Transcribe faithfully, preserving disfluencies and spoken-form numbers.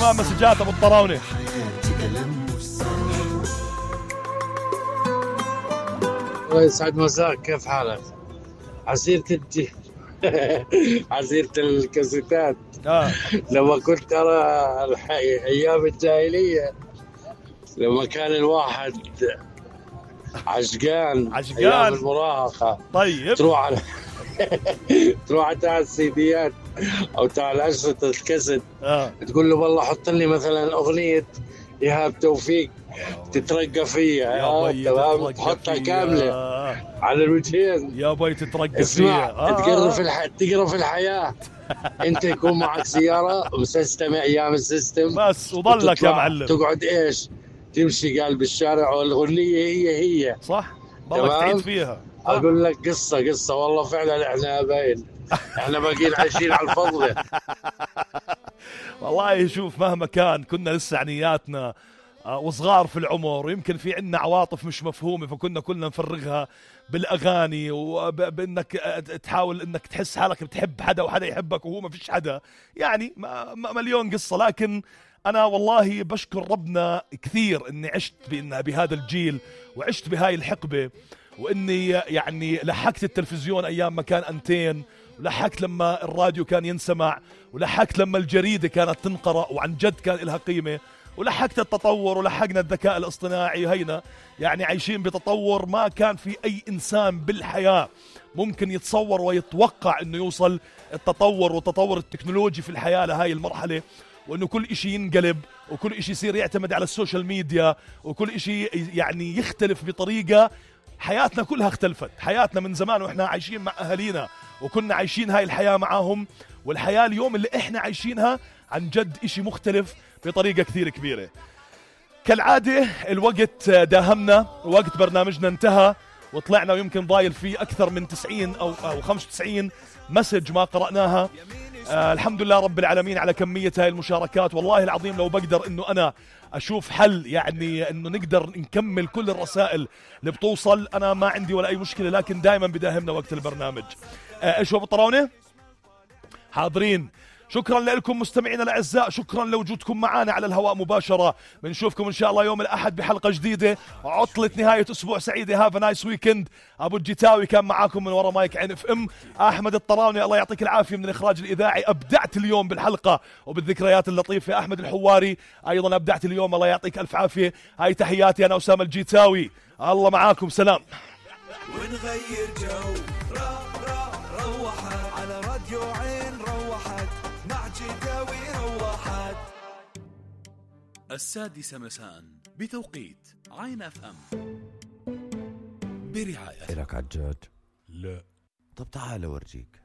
ما مسجات ابو الطراونة. الله يسعد مساك، كيف حالك؟ عسيرة الج عسيرة الكاسيتات. آه. لما كنت أرى الحي... أيام الجاهلية، لما كان الواحد عشقان عشقان أيام المراهقة، طيب تروح على تروح تاع السيديات أو تاع الأشرطة الكاسيت، آه. تقول له والله حط لي مثلا أغنية إيهاب توفيق تترقى فيها، يا بي تترقى تحطها فيها. كاملة على الوجهين. يا بي تترقى اسمع فيها. آه. تقرا في الح... تقرا في الحياة. انت يكون معك سيارة وسيستم ايام السيستم بس وضلك يا معلم تقعد ايش تمشي قلب الشارع والغنية هي هي صح، ضلك تعيد فيها. اقول لك قصة قصة والله فعلا احنا باين احنا باقيين عايشين على الفضل. والله شوف، مهما كان كنا لسه عنياتنا وصغار في العمر، ويمكن في عنا عواطف مش مفهومة، فكنا كلنا نفرغها بالأغاني، وبأنك تحاول أنك تحس حالك بتحب حدا وحدا يحبك وهو ما فيش حدا، يعني مليون قصة. لكن أنا والله بشكر ربنا كثير أني عشت بإن بهذا الجيل وعشت بهاي الحقبة، وإني يعني لحقت التلفزيون أيام ما كان أنتين، ولحقت لما الراديو كان ينسمع، ولحقت لما الجريدة كانت تنقرأ وعن جد كان لها قيمة، ولحقت التطور ولحقنا الذكاء الاصطناعي. هينا يعني عايشين بتطور ما كان في أي إنسان بالحياة ممكن يتصور ويتوقع أنه يوصل التطور والتطور التكنولوجي في الحياة لهاي المرحلة، وأنه كل إشي ينقلب وكل إشي يصير يعتمد على السوشيال ميديا، وكل إشي يعني يختلف بطريقة. حياتنا كلها اختلفت، حياتنا من زمان وإحنا عايشين مع أهالينا وكنا عايشين هاي الحياة معاهم، والحياة اليوم اللي إحنا عايشينها عن جد إشي مختلف بطريقة كثير كبيرة. كالعادة الوقت داهمنا، وقت برنامجنا انتهى، وطلعنا ويمكن ضايل فيه أكثر من تسعين أو, أو خمسة وتسعين مسج ما قرأناها. آه الحمد لله رب العالمين على كمية هاي المشاركات. والله العظيم لو بقدر انه انا اشوف حل يعني انه نقدر نكمل كل الرسائل اللي بتوصل، انا ما عندي ولا اي مشكلة، لكن دائما بداهمنا وقت البرنامج. آه ايش هو بالطراونة؟ حاضرين. شكرا لكم مستمعينا الاعزاء، شكرا لوجودكم معنا على الهواء مباشرة. بنشوفكم ان شاء الله يوم الاحد بحلقة جديدة. عطلة نهاية اسبوع سعيدة. هاف نايس ويكند. ابو الجتاوي كان معاكم من ورا مايك عين اف ام. احمد الطراوني الله يعطيك العافية من الاخراج الاذاعي، ابدعت اليوم بالحلقة وبالذكريات اللطيفة. احمد الحواري ايضا ابدعت اليوم، الله يعطيك الف عافية. هاي تحياتي انا اسامة الجتاوي، الله معاكم، سلام. ونغير جو را را روحت على راديو عين روحت مع جداوي روحت. السادسة مساء بتوقيت عين اف ام برعاية. إلك عجاج؟ لا. طب تعال اورجيك.